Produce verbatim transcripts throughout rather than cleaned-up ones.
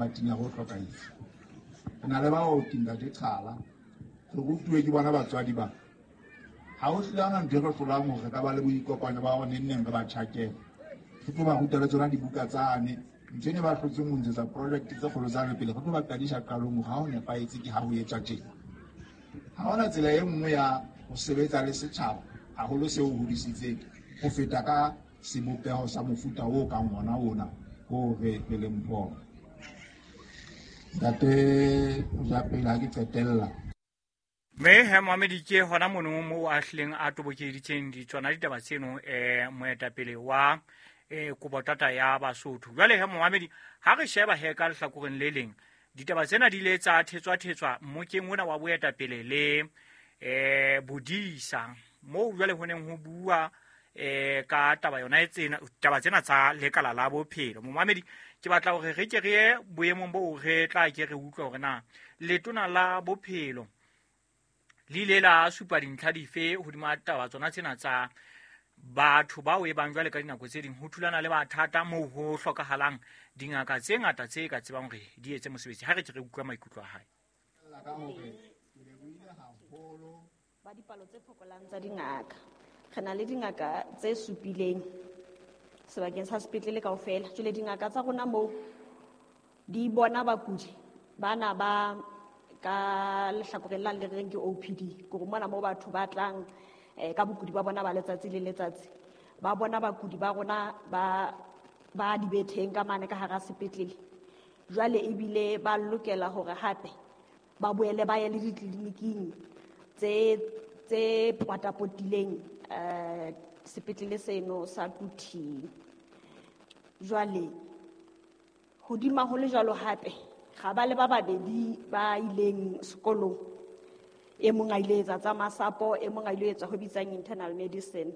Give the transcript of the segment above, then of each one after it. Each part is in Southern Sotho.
Matinyare o hlokahetse. Re na le baoki Ntate Qhala, re rutuwe ke bona batswadi ba. Ha ho hlile ha hona ntho e re hlolang hore re ka ba le boikopanyo ba hore neng neng re ba tjhakele. Re tlo ba ruta le tsona dibuka tsane. Ntho ene ba hlotseng ho ntshetsa project tse kgolo tsane pele, re tlo ba qadisa qalong hore ha ho nepahetse ke ha ho etswa tjena. Ha hona tsela e nngwe ya ho sebetsa le setjhaba haholo seo o hodisitseng ho feta ka sebopeho sa mofuta o kang ona ona o re re leng ho ona. Ntate Mojapele, ha ke qetella. Mme he moamedi ke hona mono moo a hlileng a tobokeditseng ditsona ditaba tseno um moetapele wa um kobotata ya Basotho. Jwale he moamedi, ha re sheba he ka lehlakoreng le leng, ditaba tsena di ile tsa thetswa-thetswa mmokeng ona wa boetapele le um bodisa moo jwale ho neng ho bua um ka taba yona e tsena, taba tsena tsa lekala la bophelo. Momamedi, ke batla hore re ke re ye boemong boo re tla ke re utlwe hore na letona la bophelo le ile la supa dintlha dife hodima taba tsona tsena tsa batho bao e bang jwale ka dinako tse ding ho thulana le mathata moo ho hlokahalang dingaka tse ngata tse ka tsebang hore di etse mosebetsi. Ha re ke re utlwa maikutlo a hae. Ka hore ke lebohile haholo ba dipalo tse fokolang tsa dingaka. Re na le dingaka tse supileng sebakeng sa sepetlele kaofela. Jwale dingaka tsa rona moo di bona bakudi bana ba ka lehlakoreng la le reng ke O P D, ke hore mona moo batho ba tlang eh, ka bokudi ba bona ba letsatsi le letsatsi. Ba bona bakudi ba rona ba, ba dibetheng ka mane ka hara sepetlele. Jwale ebile ba lokela hore hape ba boele ba ye le ditleliniking tse, tse potapotileng, eh, sepetlele seno sa Quthing. Jwale hodima ho le jwalo hape ga ba le ba babedi ba ileng sekolong, e mong a ile etsa tsa masapo, e mong a ile etsa ho bitsang internal medicine,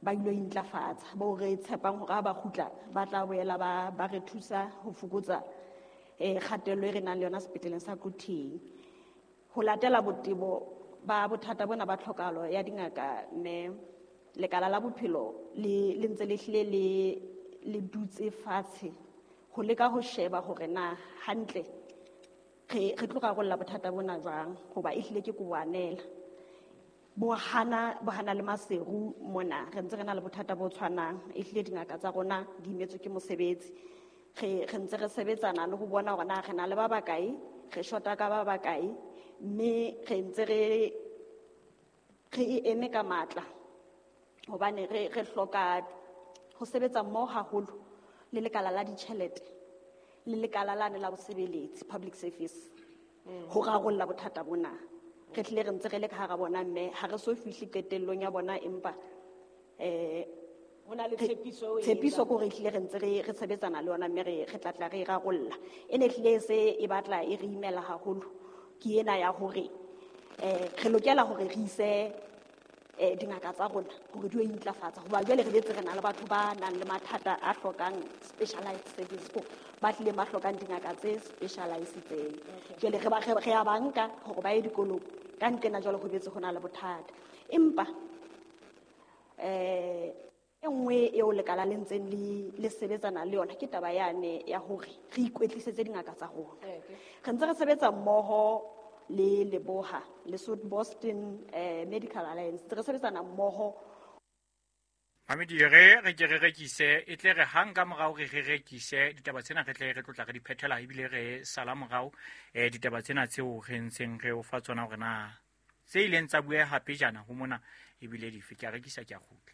ba ilo intlafatsa, bo re tshepang hore ha ba kgutla ba tla boela ba, ba re thusa ho fokotsa, eh, kgatello e re nang le yona sepetleleng sa Quthing. Ho latela botebo ba bothata bona ba tlhokahalo ya dingaka, mme lekala la bophelo le, le ntse le hlile le, le dutse fatshe ho leka ho sheba hore na hantle re, re tlo rarolla bothata bona jwang, hoba e hlile ke kowanela. Bo hana, bo hana le Maseru mona re ntse re na le bothata bo tshwanang, e hlile dingaka tsa rona di imetswe ke mosebetsi. Re, re ntse re sebetsana le ho bona hore na re na le ba bakae, re shota ka ba bakae, mme re ntse re, re e eme ka matla hobane re, re hloka ho sebetsa mmoho haholo le lekala la ditjhelete le lekala lane la bosebeletsi, public service, ho rarolla bothata bona. Re hlile re ntse re le ka hara bona, mme ha re so fihle qetellong ya bona, empa, eh, Ho na le re tshepiso eo e tshepiso etsang. ke hore ehlile re ntse re, re sebetsana le yona, mme re, re tla tla re e rarolla. E ne ehlile e se e batla e re imela haholo ke ena ya hore, eh, re lokela hore re ise, eh, dingaka tsa rona hore di yo intlafatsa, hoba jwale re betse re na le batho ba nang le mathata a hlokang specialized service, ko ba tlileng ba hlokang dingaka tse specialized-itseng. Jwale re ba, re, re a ba nka hore ba ye dikolong, ka nqena jwale ho betse ho na le bothata. Empa, eh, e nngwe eo lekala le ntseng le, le sebetsana le yona ke taba yane ya hore re ikwetlisetse dingaka tsa rona. Re ntse re sebetsa mmoho le Leboha, le South Boston, eh, Medical Alliance, re sebetsana mmoho. Mamedi, re re ke re rekise, e tle re hang ka morao re re rekise ditaba tsena, re tle re tlotla re di phethela, ebile re sala morao, eh, ditaba tsena tseo re ntseng re o fa tsona hore na tse ileng tsa bueha pejana ho mona ebile dife. Ke a rekisa, ke a kgutla.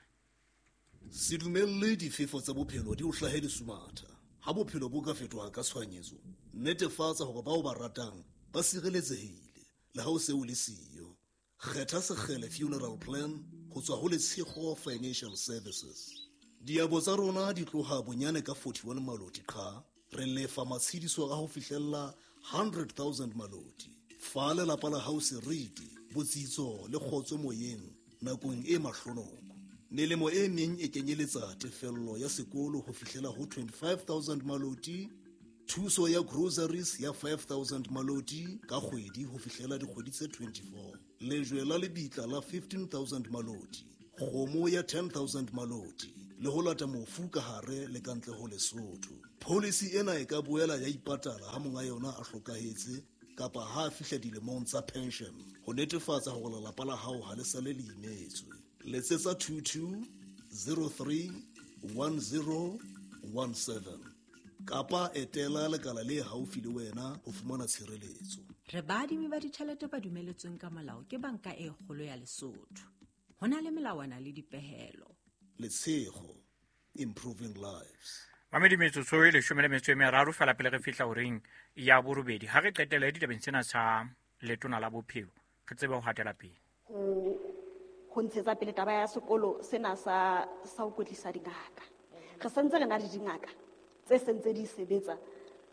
Se dumelle difefo tsa bophelo di o hlahe lesumatha. Ha bophelo bo ka fetoha ka tshohanyetso, netefatsa hore bao ba ratang ba sireletsehile le ha o se o le siyo. Kgetha Sekgele Funeral Plan ho tswa ho Letshego Financial Services. Diabo tsa rona di tloha bonyane ka forty-one maloti qha, re lefa matshediso a ho fihlella hundred thousand maloti. Fa lelapa la hao seriti, botsitso le kgotso moyeng nakong e mahlonoko. Melemo e meng e kenyeletsa tefello ya sekolo ho fihlela ho twenty-five thousand maloti, thuso ya groceries ya five thousand maloti ka kgwedi ho fihlela dikgwedi tse twenty-four, lejwe la lebitla la fifteen thousand maloti, kgomo ya ten thousand maloti le ho lata mofu ka hare le ka ntle ho Lesotho. Policy ena e ka boela ya ipatala ha monga yona a hlokahetse kapa ha a fihla dilemong tsa pension ho netefatsa hore lelapa la hao ha le sale le imetswe. Letsetsa two two zero three one zero one seven kapa etela lekala le haufi le wena ho fumana tshireletso. Re baadimi ba ditjhelete ba dumeletsweng ka molao ke banka e kgolo ya Lesotho. Ho na le melawana le dipehelo. Letshego, improving lives. Mamedi metsotso e leshome le metso e meraro fela pele re fihla horeng ya borobedi. Ha re qetele ditabeng tsena tsa letona la bophelo, re tsebe ho hatela pele. Ho ho ntshetsa pele taba ya sekolo sena sa sa ho kwetlisa dingaka. Re sentse re na le dingaka tse sentse di sebetsa,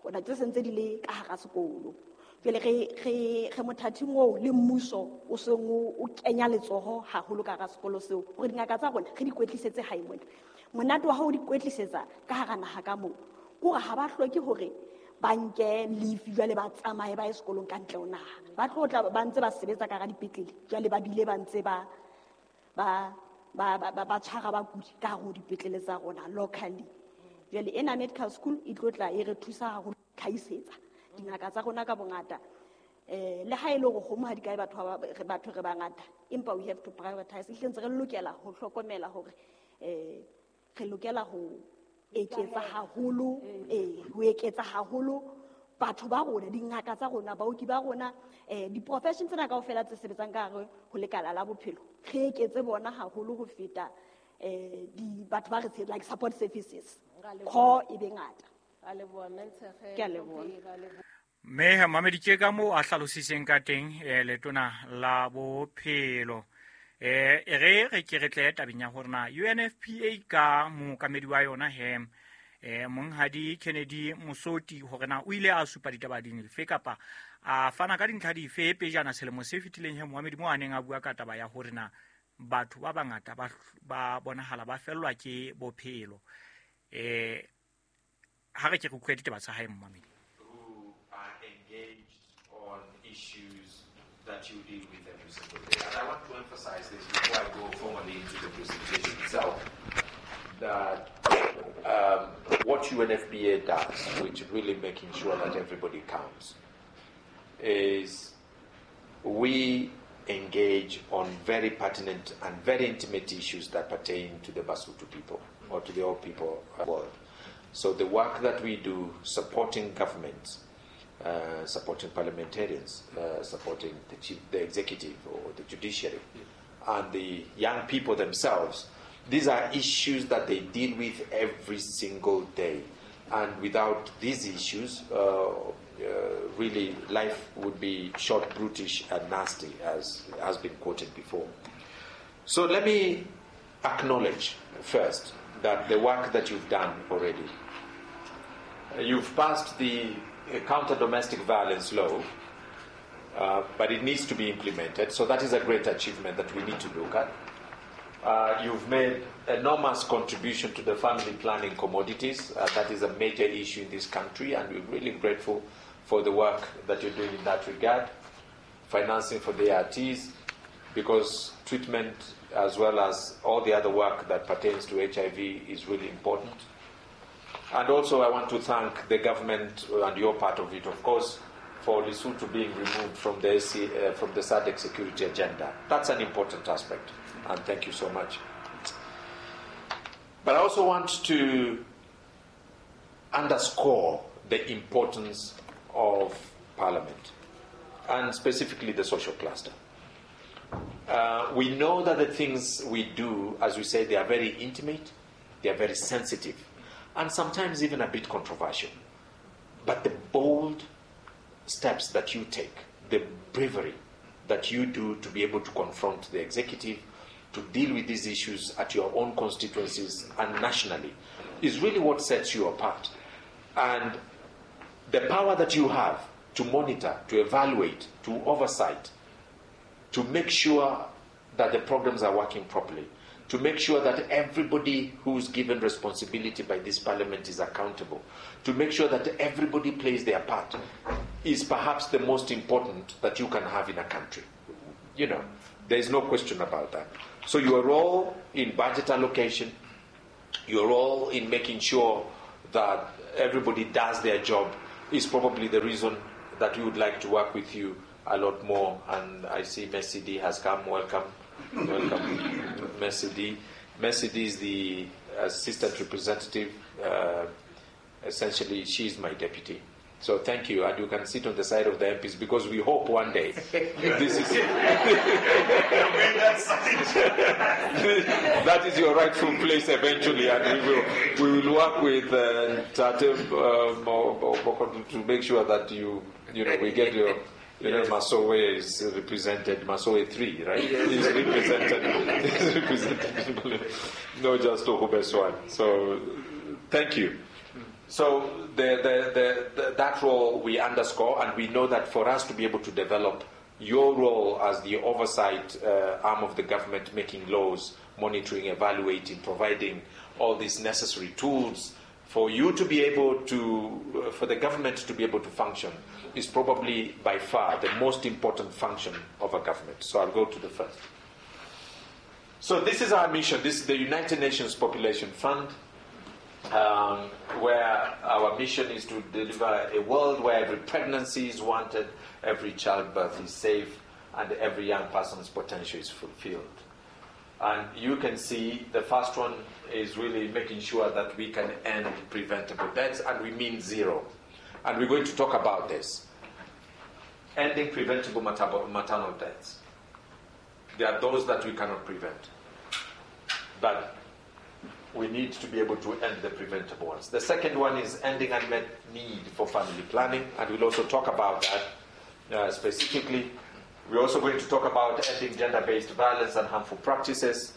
hona tse sentse di le ka hara sekolo. Jwale re re re mothating oo le mmuso o seng o kenya letsoho haholo ka hara sekolo seo hore dingaka tsa rona re di kwetlisetse hae mona. Monate wa hao di kwetlisetsa ka hara naha ka moo ke hore ha ba hloke hore ba nke leave jwale ba tsamaye ba ye sekolong ka ntle ho naha. Ba tlo tla ba ntse ba sebetsa ka hara dipetlele jwale ba bile ba ntse ba ba ba ba ba tshwara bakudi ka hare ho dipetlele tsa rona locally. Jwale ena medical school e tlo tla e re thusa haholo tlhahisetsa dingaka tsa rona ka bongata. Eh le ha e le hore kgomo ha di kae batho ba batho re bangata, empa we have to prioritize. Ehlile ntse re lokela ho hlokomela hore eh re lokela ho eketsa haholo, eh ho eketsa haholo batho ba rona, dingaka tsa rona, baoki ba rona, eh di-profession tsena kaofela tse sebetsang ka hare ho lekala la bophelo. Re eketse bona haholo ho feta eh di batho ba re like support services. Kho e be ngata. Ke a leboha. Mme mamedi ke ka moo a hlalositseng ka teng eh letona la bophelo. Eh e re re ke re tle tabeng ya hore na U N F P A ka mookamedi wa yona he eh monghadi Kennedy Mosoti hore na o ile a supa ditaba dife kapa a fana ka dintlha dife pejana selemo se fetileng he moamedi mo a neng a bua ka taba ya hore na batho ba bangata ba ba bonahala ba fellwa ke bophelo. Eh ha re ke re utlwe ditaba tsa hae moamedi. Who are engaged on issues that you deal with every single day. And I want to emphasize this before I go formally into the presentation itself, that um, what U N F P A does, which really making sure that everybody counts, is we engage on very pertinent and very intimate issues that pertain to the Basotho people or to the all people of the world. So the work that we do supporting governments, uh, supporting parliamentarians, uh, supporting the chief, the executive or the judiciary, and the young people themselves, these are issues that they deal with every single day. And without these issues, uh, uh, really life would be short, brutish, and nasty, as has been quoted before. So let me acknowledge first that the work that you've done already. You've passed the counter-domestic violence law, uh, but it needs to be implemented. So that is a great achievement that we need to look at. Uh, you've made enormous contribution to the family planning commodities. Uh, that is a major issue in this country, and we're really grateful for the work that you're doing in that regard. Financing for the A R Ts, because treatment as well as all the other work that pertains to H I V is really important. And also I want to thank the government, and your part of it, of course, for Lesotho being removed from the, S C, uh, from the SADC security agenda. That's an important aspect, and thank you so much. But I also want to underscore the importance of Parliament, and specifically the social cluster. Uh, we know that the things we do, as we say, they are very intimate, they are very sensitive, and sometimes even a bit controversial. But the bold steps that you take, the bravery that you do to be able to confront the executive, to deal with these issues at your own constituencies and nationally, is really what sets you apart. And the power that you have to monitor, to evaluate, to oversight, to make sure that the programs are working properly, to make sure that everybody who's given responsibility by this parliament is accountable, to make sure that everybody plays their part, is perhaps the most important that you can have in a country. You know, there is no question about that. So your role in budget allocation, Your role in making sure that everybody does their job is probably the reason that we would like to work with you a lot more. And I see Mercy D has come. Welcome. Welcome, Mercy D. Mercy D is the assistant representative. Uh, essentially, she is my deputy. So thank you, and you can sit on the side of the M Ps because we hope one day this is that is your rightful place eventually, and we will we will work with uh, Tate uh, to make sure that you you know we get your. You know, Masowe is represented, Masowe three, right? Yes. Is represented, is represented, not just Ohubes one. So, thank you. So, the, the, the, the, that role we underscore, and we know that for us to be able to develop your role as the oversight uh, arm of the government, making laws, monitoring, evaluating, providing all these necessary tools for you to be able to, uh, for the government to be able to function, is probably by far the most important function of a government. So I'll go to the first. So this is our mission. This is the United Nations Population Fund, um, where our mission is to deliver a world where every pregnancy is wanted, every childbirth is safe, and every young person's potential is fulfilled. And you can see the first one is really making sure that we can end preventable deaths, and we mean zero. And we're going to talk about this. Ending preventable maternal deaths. There are those that we cannot prevent. But we need to be able to end the preventable ones. The second one is ending unmet need for family planning, and we'll also talk about that uh, specifically. We're also going to talk about ending gender-based violence and harmful practices.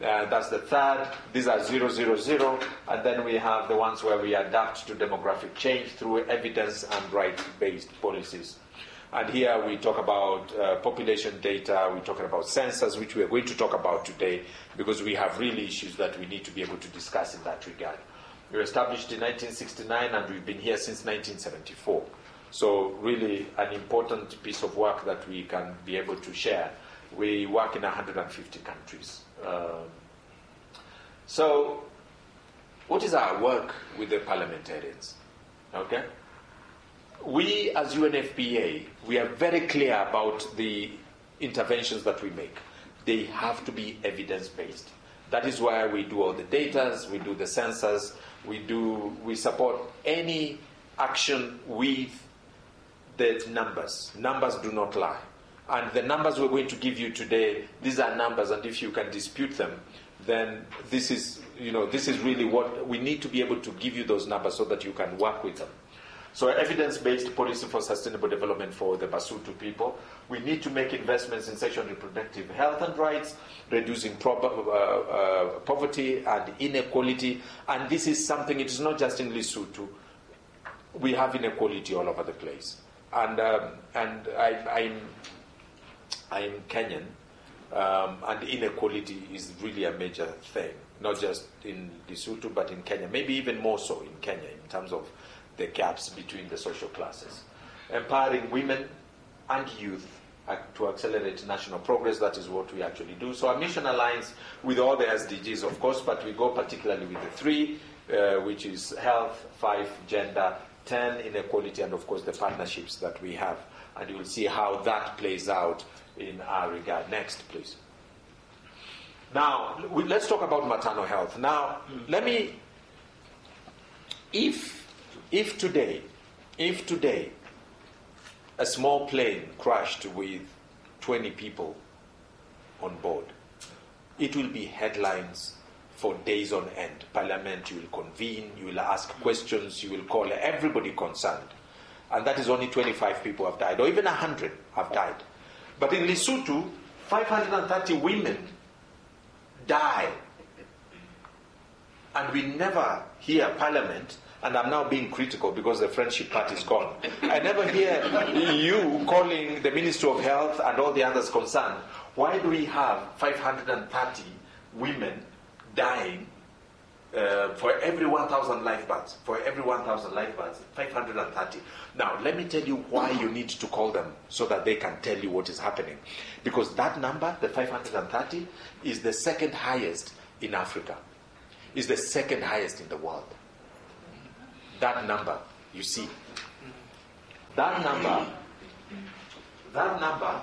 Uh, that's the third. These are zero, zero, zero. And then we have the ones where we adapt to demographic change through evidence and right-based policies. And here we talk about uh, population data, we're talking about census, which we are going to talk about today, because we have really issues that we need to be able to discuss in that regard. We were established in nineteen sixty-nine, and we've been here since nineteen seventy-four. So really an important piece of work that we can be able to share. We work in a hundred and fifty countries. Um, so what is our work with the parliamentarians? Okay? We as U N F P A, we are very clear about the interventions that we make. They have to be evidence-based. That is why we do all the data, we do the census, we do, we support any action with the numbers. Numbers do not lie. And the numbers we're going to give you today, these are numbers, and if you can dispute them, then this is, you know, this is really what we need to be able to give you those numbers so that you can work with them. So evidence-based policy for sustainable development for the Basotho people. We need to make investments in sexual and reproductive health and rights, reducing pro- uh, uh, poverty and inequality. And this is something, it is not just in Lesotho. We have inequality all over the place. And, um, and I, I'm, I'm Kenyan, um, and inequality is really a major thing, not just in Lesotho, but in Kenya, maybe even more so in Kenya in terms of the gaps between the social classes. Empowering women and youth to accelerate national progress, that is what we actually do. So our mission aligns with all the S D Gs, of course, but we go particularly with the three, uh, which is health, five, gender, ten, inequality, and of course the partnerships that we have. And you will see how that plays out in our regard. Next, please. Now, we, let's talk about maternal health. Now, let me, if, if today, if today, a small plane crashed with twenty people on board, it will be headlines for days on end. Parliament, you will convene, you will ask questions, you will call everybody concerned. And that is only twenty-five people have died, or even a hundred have died. But in Lesotho, five hundred and thirty women die. And we never hear Parliament, and I'm now being critical because the friendship part is gone. I never hear you calling the Ministry of Health and all the others concerned. Why do we have five hundred and thirty women dying uh, for every one thousand live births? For every one thousand live births, five hundred and thirty. Now, let me tell you why you need to call them so that they can tell you what is happening. Because that number, the five hundred and thirty, is the second highest in Africa. Is the second highest in the world. That number, you see. That number, that number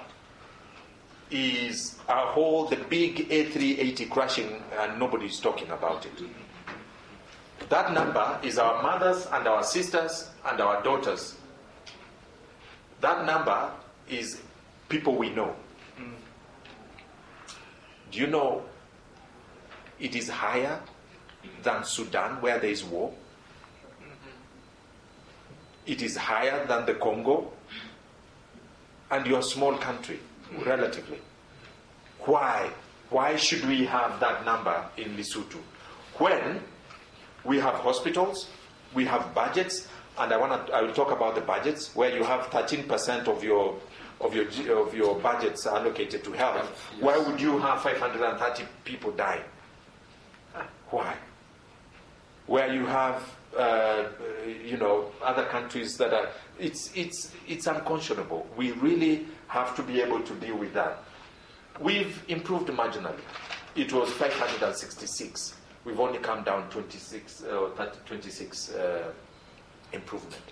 is a whole, the big A three eighty crashing, and nobody's talking about it. That number is our mothers and our sisters and our daughters. That number is people we know. Do you know it is higher than Sudan, where there is war? It is higher than the Congo, and your small country, relatively. Why? Why should we have that number in Lesotho? When we have hospitals, we have budgets, and I wanna, I will talk about the budgets, where you have thirteen percent of your, of your, of your budgets allocated to health. Yes. Why would you have five hundred thirty people dying? Why? Where you have, uh, you know, other countries that are, it's, it's, it's unconscionable. We really have to be able to deal with that. We've improved marginally. It was five hundred sixty-six. We've only come down twenty-six, uh, thirty, twenty-six, uh, improvement.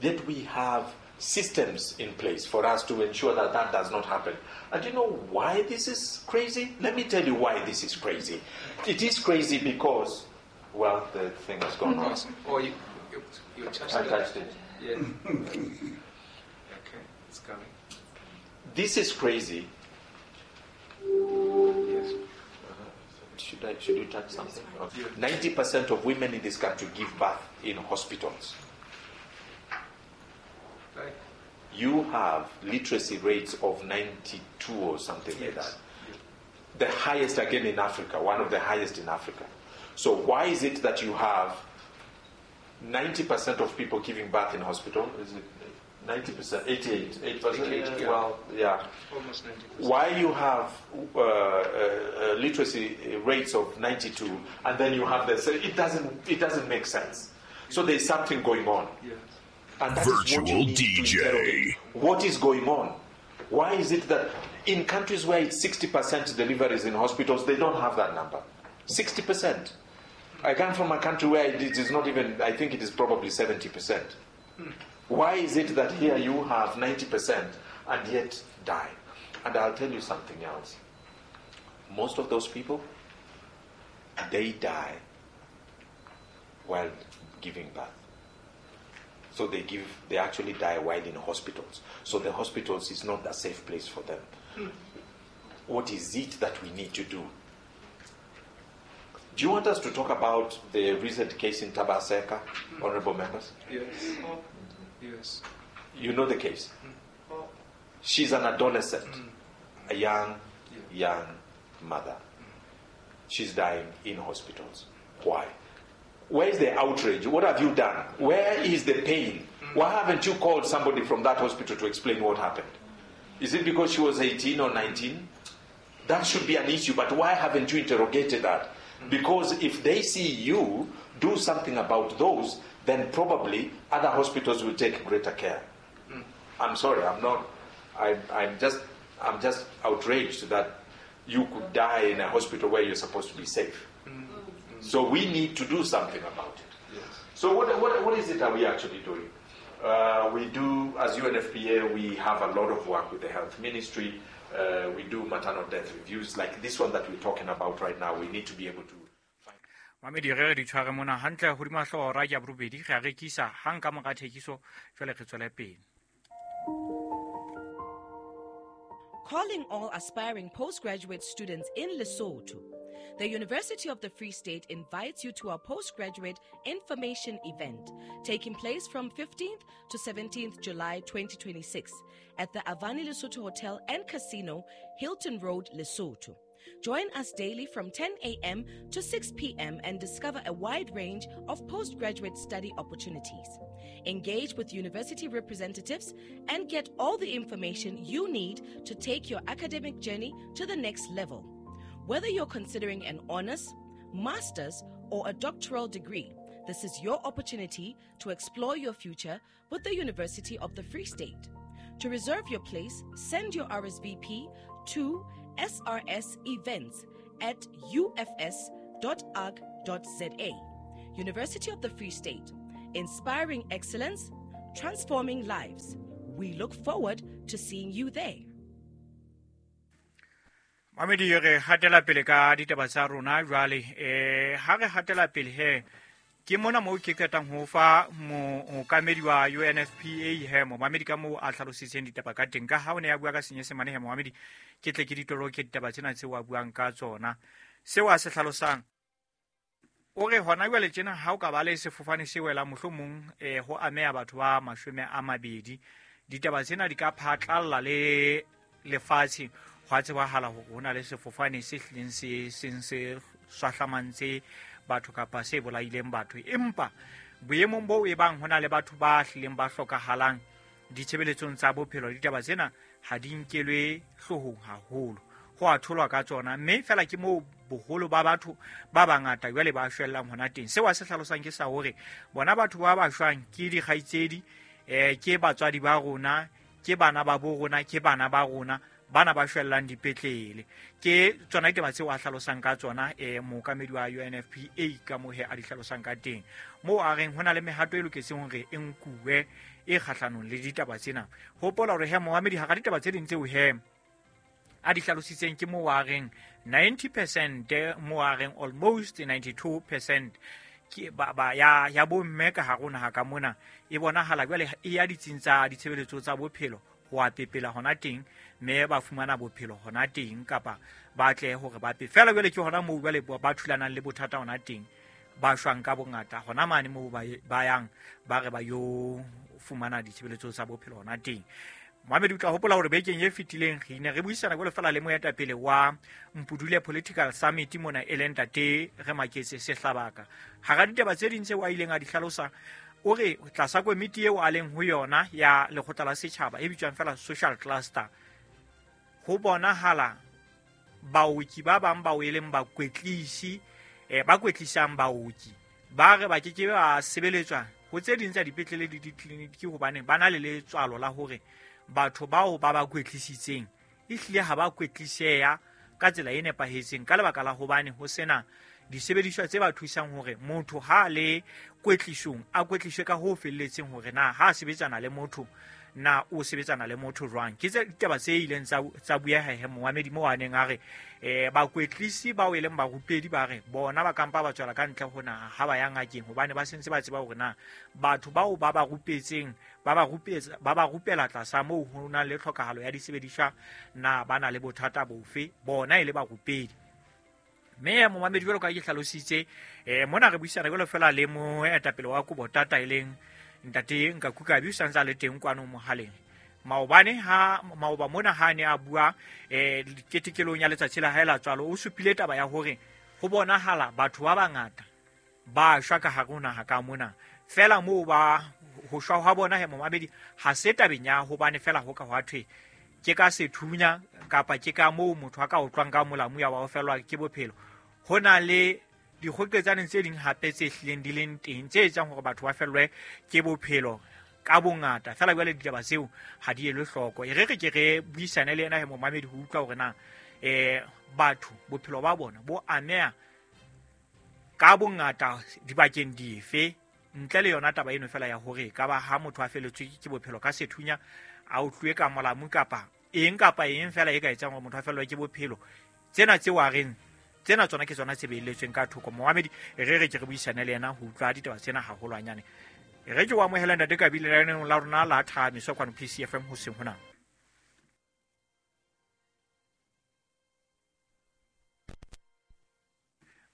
Yet we have systems in place for us to ensure that that does not happen. And you know why this is crazy? Let me tell you why this is crazy. It is crazy because, well, the thing has gone on. Oh, you, you, you touched I it. touched it. Yeah. Okay, it's coming. This is crazy. Yes. Uh, should I? Should you touch something? Okay. ninety percent of women in this country give birth in hospitals. Right. You have literacy rates of ninety-two or something yes. like that. The highest again in Africa, one of the highest in Africa. So why is it that you have ninety percent of people giving birth in hospital? Is it ninety percent? eighty-eight, eight percent? eighty-eight, yeah. Well, yeah. Almost ninety percent. Why you have uh, uh, literacy rates of ninety-two, and then you have this? It doesn't. It doesn't make sense. So there's something going on. Yes. And that is what you Virtual need to D J. interrogate. What is going on? Why is it that in countries where it's sixty percent deliveries in hospitals, they don't have that number? sixty percent. I come from a country where it is not even, I think it is probably seventy percent. Why is it that here you have ninety percent and yet die? And I'll tell you something else. Most of those people, they die while giving birth. So they give, they actually die while in hospitals. So the hospitals is not a safe place for them. Mm. What is it that we need to do? Do you want us to talk about the recent case in Tabaseka, mm. honorable members? Yes. Yes. You know the case. Mm. She's an adolescent, mm. a young, yeah. young mother. Mm. She's dying in hospitals. Why? Where is the outrage? What have you done? Where is the pain? Why haven't you called somebody from that hospital to explain what happened? Is it because she was eighteen or nineteen? That should be an issue, but why haven't you interrogated that? Because if they see you do something about those, then probably other hospitals will take greater care. I'm sorry, I'm not. I, I'm just, I'm just outraged that you could die in a hospital where you're supposed to be safe. So we need to do something about it. Yes. So what, what, what is it that we actually doing? Uh, we do, as U N F P A, we have a lot of work with the health ministry. Uh, we do maternal death reviews like this one that we're talking about right now. We need to be able to find... Mamedi re re di tshware mona hantle hodima hlooho ra ya borobedi re a rekisa hang ka mora thekiso jwale re tswele pele. Calling all aspiring postgraduate students in Lesotho. The University of the Free State invites you to our postgraduate information event taking place from fifteenth to seventeenth July twenty twenty-six at the Avani Lesotho Hotel and Casino, Hilton Road, Lesotho. Join us daily from ten a.m. to six p.m. and discover a wide range of postgraduate study opportunities. Engage with university representatives and get all the information you need to take your academic journey to the next level. Whether you're considering an honors, master's, or a doctoral degree, this is your opportunity to explore your future with the University of the Free State. To reserve your place, send your R S V P to s r s events at u f s dot arc dot z a. University of the Free State, inspiring excellence, transforming lives. We look forward to seeing you there. Mamedi re hatela pele ka ditaba tsa rona jwale eh ha re hatela pele he ke mona mo ke qetang ho fa mookamedi wa U N F P A he momamedi ka moo a hlalositseng ditaba ka teng ka ha o ne a bua ka Senyesemane he momamedi ke tle ke ditoloke ditaba tsena tseo a buang ka tsona seo a se hlalosang o re hona jwale tjena ha o ka ba le sefofane se welang mohlomong eh ho ameha batho ba mashome a mabedi ditaba tsena di ka phatlalla le lefatshe ho a tsebahala hore ho na le sefofane se hlileng se seng se swahlamantse batho kapa se bolaileng batho empa boemong bo e bang ho na le batho ba hlileng ba hlokahalang ditshebeletsong tsa bophelo ditaba tsena ha di nkelwe hloohong haholo ho a tholwa ka tsona mme fela ke moo boholo ba batho ba bangata jwale ba shwellang hona teng seo a se hlalosang ke sa hore bona batho ba ba shwang ke dikgaitsedi eh ke batswadi ba rona ke bana ba bo rona ke bana ba rona bana ba shwellang dipetlele ke tsona ditaba tseo a hlalosang ka tsona eh mookamedi wa U N F P A ka moo he a di hlalosang ka teng moo a reng ho na le mehato e loketseng hore e nkuwe e kgahlanong le ditaba tsena hopola hore he moamedi hara ditaba tse ding tseo he a di hlalositseng ke moo a reng ninety percent moo a reng almost ninety-two percent ke ba, ba ya ya bomme ka hare ho naha ka mona e bonahala jwale e ya ditsing tsa ditshebeletso tsa bophelo ho a pepela hona teng mme ba fumana bophelo hona teng kapa ba tle hore ba pe fela jwale ke hona moo jwale ba thulanang le bothata hona teng ba shwang ka bongata hona mane moo ba ba yang ba re ba yo fumana ditshebeletso tsa bophelo hona teng. Mohamedi o tla hopola hore bekeng e fetileng re ne re buisana jwalo fela le moetapele wa Mpudule Political Summit mona e leng ntate re Maketse Sehlabaka hara ditaba tse ding tseo a ileng a di hlalosa o re tlasa komiti eo a leng ho yona ya lekgotla la setjhaba e bitswang fela social cluster ho bonahala baoki ba bang bao e leng bakwetlisi eh ba kwetlisang baoki ba re ba ke ke ba sebeletswa ho tse ding tsa dipetlele le ditleliniki hobane ba na le letswalo la hore batho bao ba ba kwetlisitseng ehlile ha ba kwetliseya ka tsela e nepahetseng ka lebaka la hobane ho sena disebediswa tse ba thusang hore motho ha le kwetlisong a kwetliswe ka ho felletseng hore na ha sebetsana le motho na o sebetsana le motho jwang ke tse ditaba tse ileng tsa tsa bueha he moamedi mo a neng a re eh bakwetlisi bao e leng barupedi ba re bona ba kampa ba tswela ka ntle ho naha ha ba ya ngakeng hobane ba sentse ba tseba hore na batho bao ba ba rupetseng ba ba rupetsa ba ba rupela tlasa moo ho na le tlhokahalo ya disebediswa na ba na le bothata bofe bona e le barupedi mme momamedi jwalo ka ke hlalositse eh mona re buisana jwalo fela le moetapele wa Kobotata e leng ntate Nkaku Kabi o santse a le teng kwano mohaleng maobane ha maoba mona ha ne a bua eh ketekelong ya letsatsi la hae la tswalo o supile taba ya hore ho bonahala batho ba bangata ba shwa ka hare ho naha ka mona fela moo ba ho shwa ha bona he momamedi ha se tabeng ya hobane fela ho ka hwa thwe ke ka sethunya kapa ke ka moo motho a ka utlwang ka molamu ya wa felwa ke bophelo ho na le dikgoketsaneng tse ding hape tse hlileng di leng teng tse etsang hore batho ba fellwe ke bophelo ka bongata fela jwale ditaba tseo ha di elwe hloko e re re ke re buisane le yena he momamedi ho utlwa hore na eh batho bophelo ba bona bo ameha ka bongata dibakeng dife ntle le yona taba eno fela ya hore ka ba ha motho a feletswe ke bophelo ka sethunya a utlwe ka molamu kapa eng kapa eng fela e ka etsang hore motho a fellwe ke bophelo tsena tseo a reng tsena tsona ke tsona tse beiletsweng ka thoko moamedi re re ke re buisane le yena ho utlwa ditaba tsena haholwanyane re ke o amohela ntate Kabi lenaneong la rona la Thamiso kwano P C F M hoseng hona.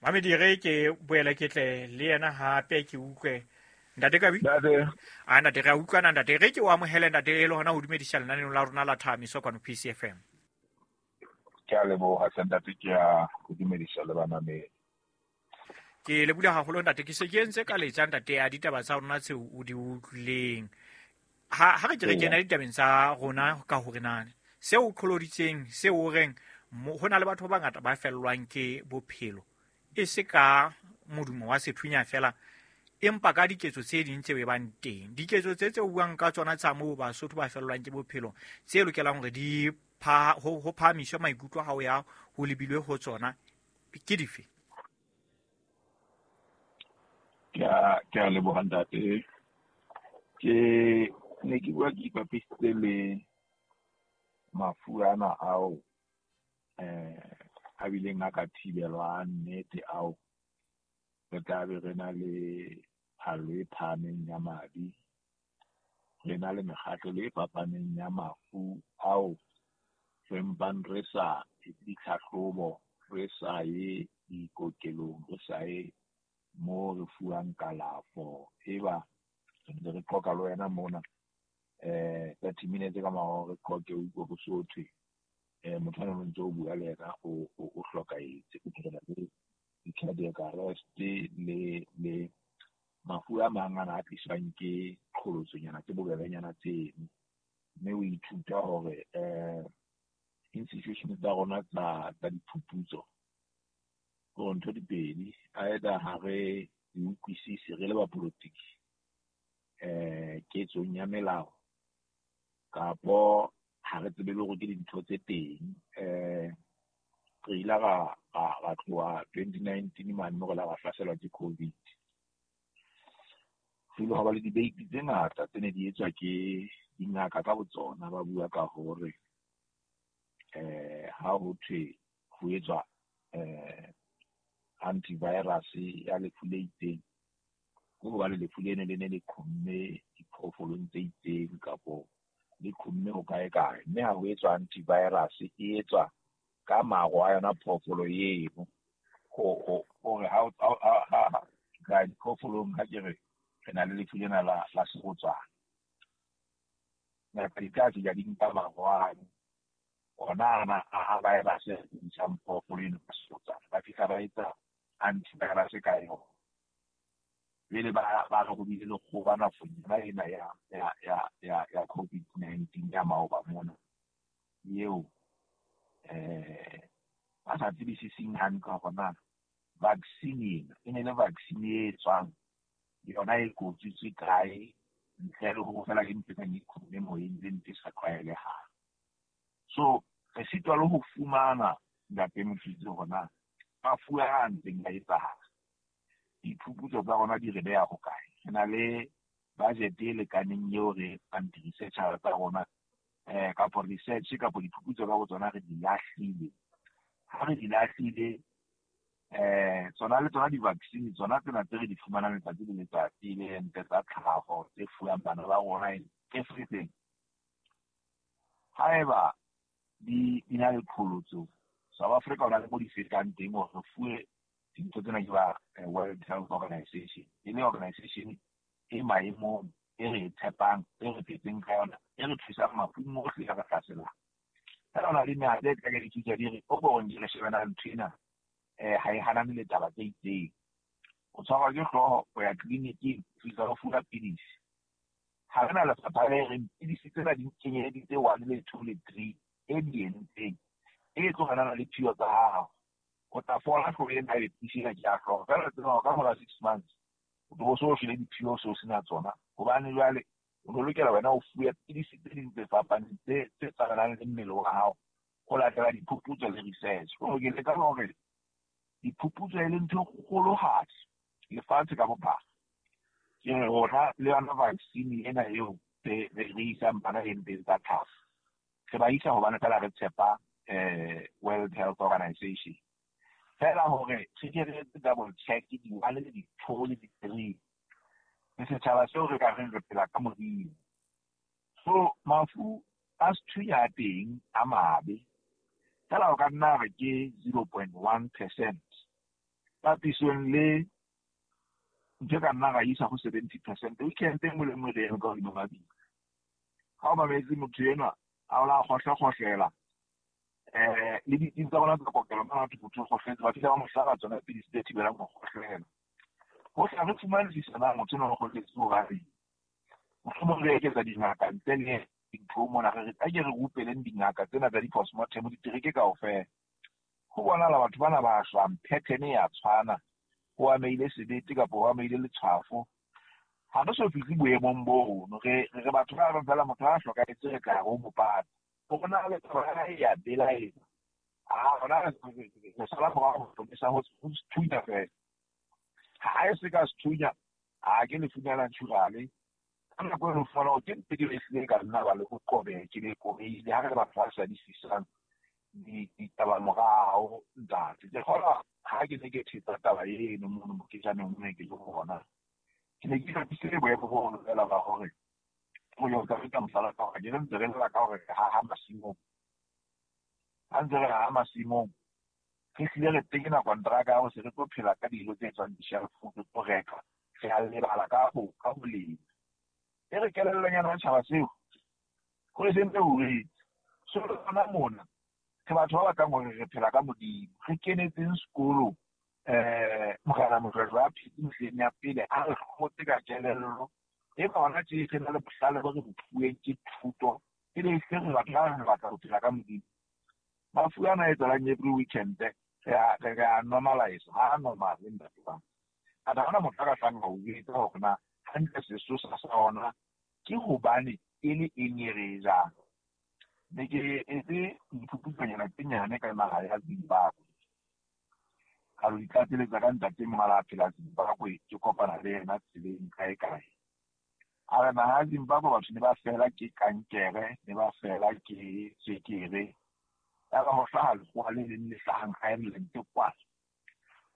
Moamedi re ke boela ke tle le yena hape ke utlwe ntate Kabi a ntate re a utlwana ntate re ke o amohele ntate e le hona ho dumedisa lenaneong la rona la Thamiso kwano P C F M. Ke a leboha ntate ke a ho dumedisa le bamamedi. Ke le bula haholo ntate ke se ke entse ka letsa ntate ya ditaba tsa rona tseo o di utlwileng ha ha re ke re kena ditabeng tsa rona ka hore na seo o qholoditseng seo o reng ho na le batho ba bangata ba fellwang ke bophelo e se ka modumo wa sethunya fela empa ka diketso tse ding tse bang teng diketso tse tse buang ka tsona tsa moo Basotho ba fellwang ke bophelo tse lokelang hore di pha ho ho phahamiswe maikutlo ha o ya ho lebilwe ho tsona ke dife? Ke a ke a leboha ntate. Ke ne ke bua ke ipapisitse le mafu ana ao eh a bileng a ka thibelwa nnete ao re tla be re na le phalo e phahameng ya madi, re na le mekgatlo e fapaneng ya mafu ao re mpang re sa etse ditlhahlobo, re sa ye dikokelong, re sa ye mo re fuwang kalafo. Eba re ntse re qoqa le wena mona eh thirty minutes ka mora re qoqe o utlwe ho so thwe eh motho ana o ntse o bua le yena o o hlokahetse, o phela le di-cardiac arrest le le mafu a mang ana a tliswang ke qholotsonyana tse bobebenyana tseno. Mme o ithuta hore eh institution tsa rona tsa tsa diphuputso hore ntho di pedi, either ha re di utlwisise re le bapolotiki eh ketsong ya melao, kapo ha re tsebe le hore ke dintho tse teng. Eh re ile ra ra tloha twenty nineteen mane mo re la ra hlaselwa ke COVID. Ho ile hwa ba le debate tse ngata tse ne di etswa ke dingaka ka botsona, ba bua ka hore eh ha ho thwe ho etswa eh antivirus ya lefu le itseng, ke hobane lefu leno le ne le qhomme diphoofolong tse itseng kapo le qhomme ho kae kae, mme ha ho etswa antivirus e etswa ka maro a yona phoofolo eno. Ho hore ha ha ka diphoofolong ha ke re re na le lefu lena la la serotswana, ngaka di tla fihla di nka maro ano ona ana a virus e ntshang phoofolo eno ka serotswana, ba fihla ba etsa antivirus ka yona. Jwale ba ba re ho bile le kgoba nakong yona ena ya ya ya ya ya COVID nineteen ya maoba mona eo eh ba sa tsebisiseng hantle hore na vaccine ena e ne le vaccine e tswang yona e kotsitswe kae, ntle le hore feela ke ntho e kang e qhomme moyeng le ntho e sa tlwaelehang. So re sitwa le ho fumana ntate Mofitse hore na mafu a ntseng a etsahala, diphuputso tsa rona di re beha hokae. Re na le budget e lekaneng eo re etsang di-research tsa rona eh kapo research kapo diphuputso ka botsona re di lahlile. Ha re di lahlile eh tsona le tsona di-vaccine tsona tsena tse re di fumanang letsatsi le letsatsi le ente tsa tlhaho tse fuwang bana ba rona everything, haeba di di na le qholotso, South Africa o na le mo di fetang teng hore re fuwe dintho tsena ke ba World Health Organization, e le organization e maemong e re e tshepang, e re phetseng ka yona, e re thusang mafung ohle a re hlaselang. Feela ho na le mehato e tla ke dithusa di re o ko re shebana ntho ena eh ha e hanane le taba tse itseng. O tshwarwa ke hlooho, o ya tleliniking, o fihla o fuwa pidisi. Ha re na lefapha le reng pidisi tsena di kenyelleditse one le two le three e di entseng e tlo hanana le phio tsa hao. O tla fola hlooho ena ebe pidisi ena ke ya hlooho. Feela tseba hore ka mora six months o tlo bo so shwele diphio seo sena tsona, hobane jwale o no lokela wena o fuwe pidisi tse ding tse fapaneng tse tse tsamanang le mmele wa hao ho latela diphuputso le research. Ho ke leka hore diphuputso e le ntho e kgolohadi lefatshe ka bophara. Ke re rona le yona vaccine ena eo re re isang bana enteng tsa tlhaho, re ba isa hobane feela re tshepa eh World Health Organization. Feela hore re ke re etse double check di-one le di-two le di-three, le setjhaba seo re ka reng re phela ka Modimo. So mafu a sethunya a teng a mabe, feela o ka nna re ke zero point one percent papisong le ntho e ka nna ra isa ho seventy percent. Weekend e nngwe le nngwe re eme ka hodima mabitla. Ha o mametse motho enwa a o la kgohlakgohlela eh le ditsi tsa rona tsa kokelo mona batho motho o kgohletse, ba fihla ba mo hlaba tsona pidisi tse thibelang ho kgohlela. Ho hla re fumanisisa na motho enwa o kgohletse hobaneng. Mohlomong re eketsa dingaka ntle le dintho mona, re re a ke re rupeleng dingaka tsena tsa di-postmortem ditereke kaofela. Ho bonahala batho bana ba shwang, pattern e ya tshwana, ho amehile sebete kapo ho amehile letshwafo. Ha re so fihle boemong bono, re re batho ba reng feela motho ha a hlokahetse re tla re o mo pata. Ho bona le taba ya hae ya belaetsa. Ah, rona re sala morao ho hlomisa ho sethunya feela. Ha e se ka sethunya, ha ke lefunya la naturale. Ka nako e re fumana hore ke ntho ke ehlile ka nna ba le ho qobeha, ke le qobeile ha re le batho ba sa di sisang ditaba morao ntate. Ke kgolwa ha ke ne ke thetsa taba eno mono moketjaneng o ne ke le ho ona, ke ne ke hlophisitse boemo bo feela ba hore ho yo ka feta mohlala ka hore ke ntse re lla ka hore ha ha masimong. Ha ntse re ha masimong, re hlile re tekena kontraka ya hore se re tlo phela ka dijo tse tswang dishelfong, re tlo reka, re a lebala ka ho ka ho lema. E re kelellonyana ya tjhaba seo, ho se ntse ho retse. So rona mona, re batho ba batlang hore re phela ka Modimo. Re kenetseng sekolo, eh, Morena Mojwajwa a phetse mehleng ya pele, a re hlotse ka kelello. Eba hona tje re na le bohlale bo re bo fuweng ke thuto, e le se re batla re batla ho phela ka Modimo. Mafu ana a etsahalang every weekend, re a re a normalize, ha a normal ntate wa ka. Atha hona motho a ka tlang ho jwetsa hore na hantle sesosa sa ona ke hobane e le eng e re e jang. Ne ke etse diphuputsonyana tse nyane ka naha ya Zimbabwe. Ka lo itlatseletsa ka ntate mong a la phela Zimbabwe, ke kopana le yena tseleng kae kae. A re naha ya Zimbabwe batho ne ba fela ke kankere, ne ba fela ke tswekere. Yaba ho hlaha lekgowa le leng le hlahang Ireland kwana.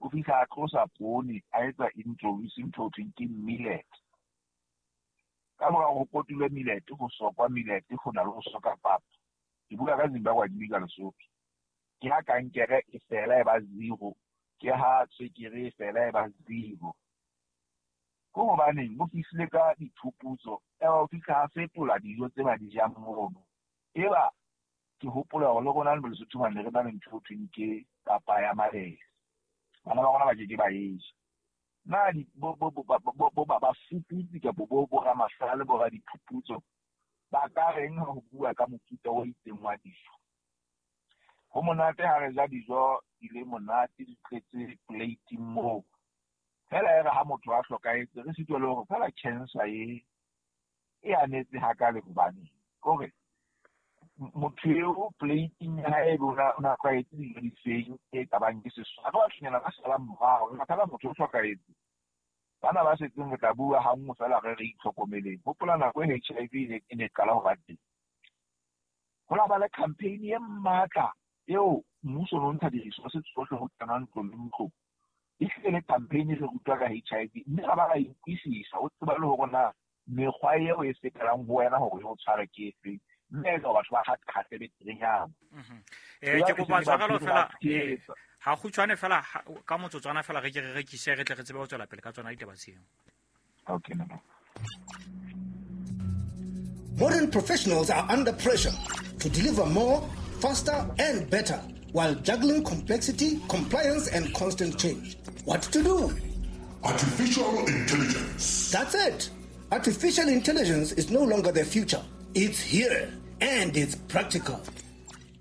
O fihla a tlosa poone, a etsa introduce ntho ho thweng ke millet. Ka mora ho kotulwe millet, ho sokwa millet, ho na le ho soka papa. Ke bua ka Zimbabwe, ke bua ka Lesotho. Ke ha kankere e fela e ba zero, ke ha tswekere e fela e ba zero. Ke hobaneng o fihlile ka diphuputso, eba o fihla a fetola dijo tse ba di jang mono. Eba ke hopola hore le rona le Lesotho mane re na le ntho ho thweng ke papa ya mabele. Bana ba rona ba ke ke ba e ja. Na di bo bo bo bo bo ba bafuputsi kapa bo bo ramahlale bo radiphuputso ba ka reng ha ho bua ka mofuta o itseng wa dijo? Ho monate ha re ja dijo di le monate, di tletse plate moo. Fela e re ha motho a hlokahetse, re sitwa le hore fela cancer e e anetse hakale hobaneng. Kore motho eo plating ya hae o na o na tlwaetse dijo di feng e ka bang ke seswa. Re bathonyana ba salang morao, re fela motho o hlokahetse. Bana ba setseng re tla bua ha nngwe fela re re itlhokomeleng. Hopola nako e H I V e ne e ne qala ho ba teng. Ho la ba le campaign e matla eo mmuso o no ntsha di-resources tsohle ho kena ntlo le ntlo. E hlile le campaign re rutwa ka H I V, mme ra ba ra ikwisisa o tseba le hore na mekgwa eo e fetelang ho wena hore e o tshware ke efeng. Mme e batho ba kgatle beterenyana. Eh, ke kopa tshwarelo fela, ha kgutshwane fela ka motsotswana fela re ke re rekise re tle re tsebe ho tswela pele ka tsona ditaba tseo. Okay, no. Modern professionals are under pressure to deliver more, faster and better while juggling complexity, compliance and constant change. What to do? Artificial intelligence. That's it. Artificial intelligence is no longer the future. It's here and it's practical.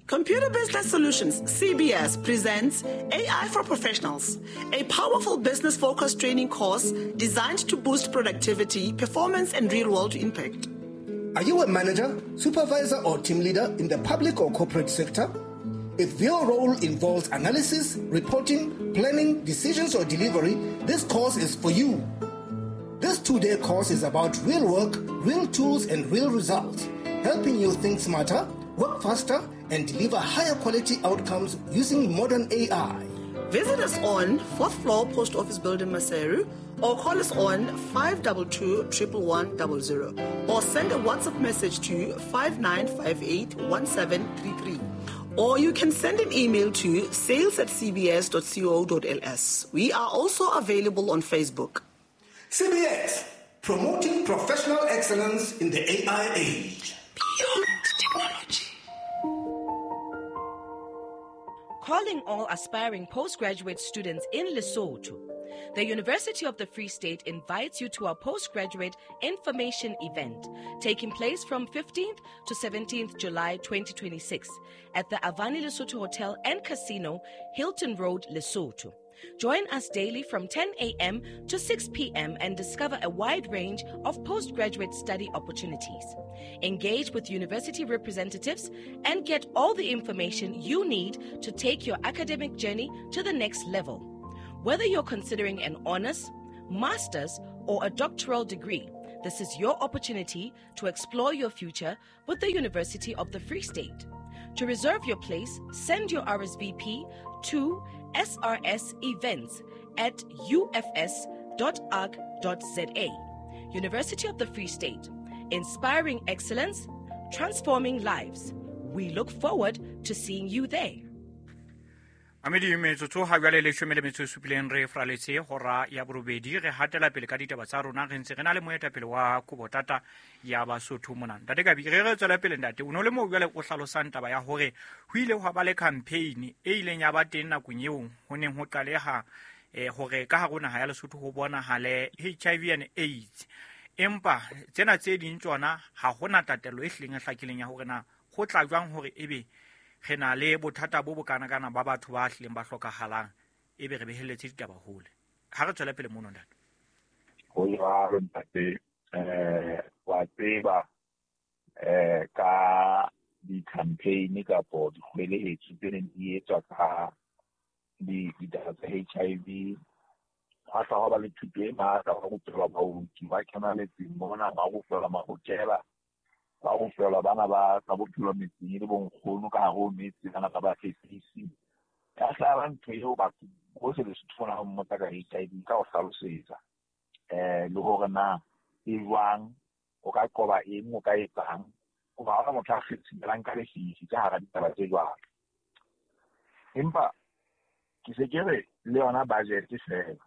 Computer Business Solutions, C B S, presents A I for Professionals, a powerful business-focused training course designed to boost productivity, performance, and real-world impact. Are you a manager, supervisor, or team leader in the public or corporate sector? If your role involves analysis, reporting, planning, decisions, or delivery, this course is for you. This two-day course is about real work, real tools, and real results, helping you think smarter, work faster, and deliver higher quality outcomes using modern A I. Visit us on fourth floor Post Office Building, Maseru, or call us on five two two, one one one zero zero, or send a WhatsApp message to five nine five eight, one seven three three. Or you can send an email to sales at c b s dot co dot l s. We are also available on Facebook. C B S, promoting professional excellence in the A I age. Beyond technology. Calling all aspiring postgraduate students in Lesotho. The University of the Free State invites you to our postgraduate information event taking place from fifteenth to seventeenth July twenty twenty-six at the Avani Lesotho Hotel and Casino, Hilton Road, Lesotho. Join us daily from ten a.m. to six p.m. and discover a wide range of postgraduate study opportunities. Engage with university representatives and get all the information you need to take your academic journey to the next level. Whether you're considering an honors, master's, or a doctoral degree, this is your opportunity to explore your future with the University of the Free State. To reserve your place, send your R S V P to S R S events at U F S dot org dot Z A. University of the Free State, inspiring excellence, transforming lives. We look forward to seeing you there. Amedi metsotso ha jwale leshome le metso e supileng re fraletse hora ya borobedi re hatela pele ka ditaba tsa rona re ntse re na le moetapele wa Kobotata ya Basotho mona. Ntate Kabi, re re tswela pele ntate, o no le moo jwale o hlalosang taba ya hore ho ile hwa ba le campaign e ileng ya ba teng nakong eo ho neng ho qaleha eh hore ka hare ho naha ya Lesotho ho bonahale H I V and AIDS. Empa tsena tse ding tsona ha hona tatello e hlileng e hlakileng ya hore na ho tla jwang hore ebe re na le bothata bo bokana kana ba batho ba hlileng ba hlokahalang ebe re behelletse ditaba hole. Ha re tswela pele mono ntate. Ho jwalo ntate, eh wa tseba eh ka di-campaign kapo dikgwelehetso tse neng di etswa ka ditaba tsa H I V, ha tla ba le thuto e matla ba rupelwa baoki ba kena metseng mona, ba rupelwa mahokela, ba rupelwa bana ba tsa bophelo metseng le bonkgono ka hare ho metse, bana ba ba fesisi. Ya hlaba ntho eo batho bohle Lesotho mona ha mmotsa ka H I V ka ho hlalosetsa eh le hore na e jwang, o ka qoba eng, o ka etsang, hoba ha hona motho a kgethimelang ka lefifi ka hara ditaba tse jwalo. Empa ke se ke re le yona budget fela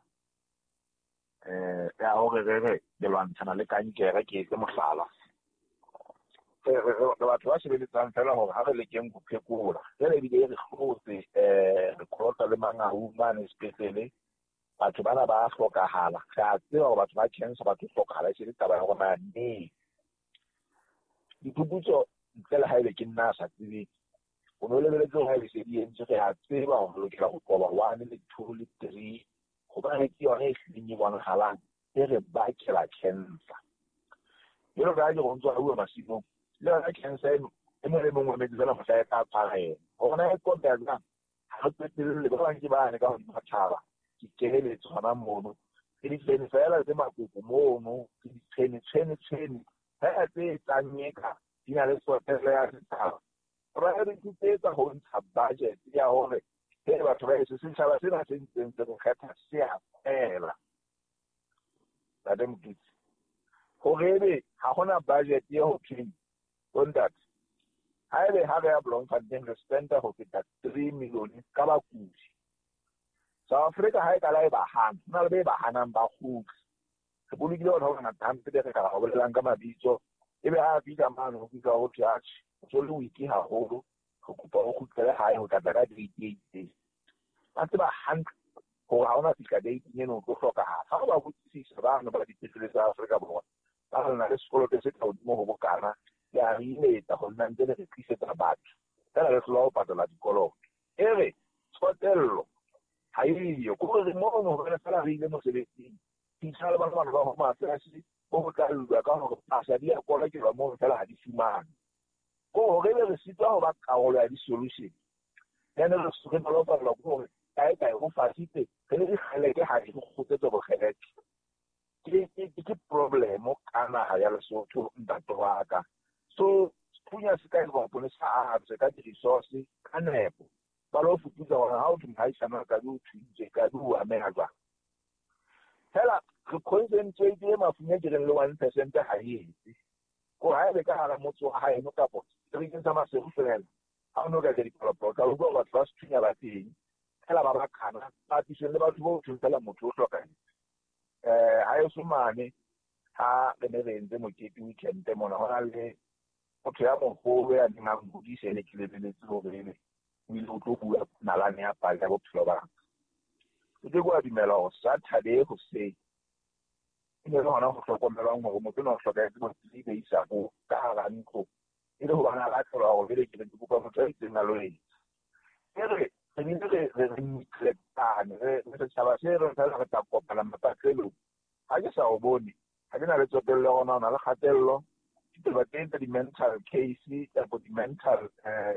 eh ya hore re re le lwantshana le kankere, ke etse mohlala. Re re batho ba sebeletsang fela hore ha re lekeng ho phekola, jwale ebile re hlotse eh re kolota le Mangaung mane sepetlele, batho bana ba hlokahala. Re a tseba hore batho ba cancer ba tlo hlokahala, e se le taba ya hore na neng. Diphuputso ntle le haebe ke nna a sa tsebeng, o no lebeletse hore haebe se di entswe, re a tseba hore re lokela ho qoba one le two le three, hobane ke yona e hlileng e bonahalang e re bakela cancer. Jwalo ka ha ke re o ntso a bua masimong, le yona cancer eno e mong le mong o emetse fela mohla e tla tshwara yena. Hore na e qobeha jwang, ha re qetelle ba bang ke bane ka hodima thaba, ke keheletso hona mono, ke ditshwene fela tse makoko mono, ke ditshwene tshwene tshwene fela tse etsang eka di na le tsotello ya setjhaba. Priority tse etsa ho ntsha budget ya hore he batho ba heso, setjhaba sena se ntseng se re kgetha se a fela. Ntate Moketsi, hore ebe ha hona budget e ho thweng bontate, haebe ha re ya Bloemfontein re spenda ho feta three million ka bakudi. South Africa ha e kala e ba hana, ho na le be ba hanang ba kgutle. Re bolokile batho ba bangata hampe re ka ba bolelang ka mabitso, ebe ha a fihla mane ho fihla ho thwe atjhe, o so le weak haholo, re kopa o kgutlele hae ho tla tla ka date e itseng. Ba tseba hantle hore ha ona fihla date eno o tlo hlokahala. Ha o ba botsisisa bano ba dipetlele tsa Afrika Borwa, ba re na le sekoloto se ka hodimo ho bokana, le a re imetsa ho nna ntse le re tlisetsa batho, fela re hlola ho patala dikoloto. E re tsotello ha eyo, ke hore mono hobane fela re ile mosebetsing, fihla le bana bana ba Home Affairs bo ho tla lwa ka hore pasa di a kolokelwa mono fela ha di fumanwe. Ke hore ebe re sitwa ho ba karolo ya di-solution. Then re re nolofallwa ke hore kae kae ho fasitse, re le dikgeleke ha di re kgutletse bokgeleke. Ke ke ke problem ka naha ya Lesotho ntate wa ka. So sethunya se ka e sa atswe ka di-resource ka nepo. Ba lo fuputsa hore ha o thwe mohaisane ka di o thuntse, ka di o ameha jwang. Fela re concentrate mafung e ke reng le one percent ha e etse. Ko haebe ka hara motse wa haeno kapo seterekeng sa Maseru fela, ha o no ka ja dipalopalo, ka utlwa batho ba sethunya ba teng, fela ba ba kana, papisong le batho bo thweng fela motho o hlokahetse. Eh ha eso mane ha re ne re entse mokete weekend mona, ho na le motho ya moholo ya neng a ngodise ene ke lebeletse hore ebe o ile o tlo bua nalane ya pale ya bophelo ba ka. O ke wa dumela hore Saturday hoseng e ne le hona ho hlokomelwang hore motho enwa o hlokahetse bo three days ago ka hara ntlo, e le hobane a latelwa hore jwale ke ne ke kopa motho a itseng a lo etsa. E re re bile re re re neglectane, re re setjhaba se re fela re tla kopana mapatlelong. Ha ke sa o bone, ha ke na le tsotello ya hore na o na le kgatello, ditaba tse tsa di-mental case kapa di-mental eh